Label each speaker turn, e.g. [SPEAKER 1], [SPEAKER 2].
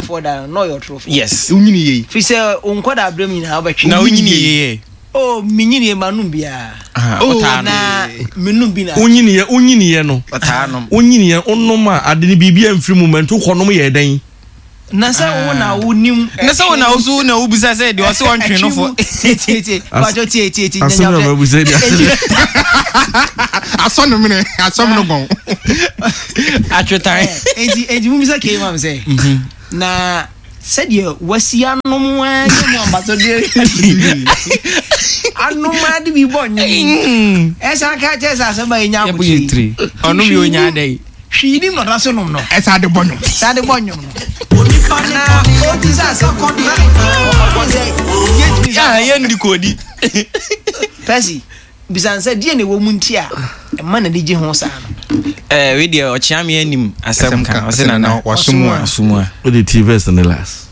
[SPEAKER 1] ɔtorofoɔ da no, na ɔyɛ ɔtorofoɔ.
[SPEAKER 2] Yes.
[SPEAKER 3] Wonyini yie.
[SPEAKER 1] Firi sɛ wo nkwadaa berɛ mu nyinaa wobɛtwe.
[SPEAKER 2] Na wonyini yie.
[SPEAKER 1] Oh, menyini yie manom biara.
[SPEAKER 2] Ah,
[SPEAKER 1] Oh,
[SPEAKER 2] ɔtaa nom.
[SPEAKER 1] na menom bi na.
[SPEAKER 4] Wonyiniiɛ wonyiniiɛ no.
[SPEAKER 2] Ɔtaa nom.
[SPEAKER 4] Wonyiniiɛ wonom a ade no biribi amfiri mu ma nti wokɔnom yɛɛ dɛn?
[SPEAKER 1] Na sɛ wo na wonim.
[SPEAKER 2] Na sɛ wo na wo so na wobisa sɛ deɛ ɔse ɔntwe no fo.
[SPEAKER 1] Tie tie tie. Pacho tie tie tie.
[SPEAKER 4] Asɛm na mabisa yi deɛ.
[SPEAKER 3] Asɔ ne mene asɔ mene gɔn.
[SPEAKER 2] Atwetan.
[SPEAKER 1] Enti enti mubisa kei ma me sɛ. Na sɛdeɛ wasi anom ara ne mu ambasodeɛ anom ara de bi bɔ nnwom. Ɛsan ka kyerɛ sɛ asɛm a ɛnya abotire.
[SPEAKER 2] Ɔnom yɛ onya adɛn.
[SPEAKER 1] Hwee nim na ɔda so nom no.
[SPEAKER 3] Ɛsan de bɔ nnwom.
[SPEAKER 1] Ɛsan de bɔ nnwom no. Na ɔti sɛ asɛm na ɔbɔ sɛ yɛntumi sɛ.
[SPEAKER 2] Yɛndi kɔdi.
[SPEAKER 1] Percy, bisa no sɛ deɛ na ɛwɔ mu nti a ɛma n'ani gye ho saa no.
[SPEAKER 2] Ɛɛ wei deɛ ɔkyea me anim asɛm ka ɔsɛ nana
[SPEAKER 3] wasomu a.
[SPEAKER 2] Wasomu a.
[SPEAKER 4] Wode ti verse ne last.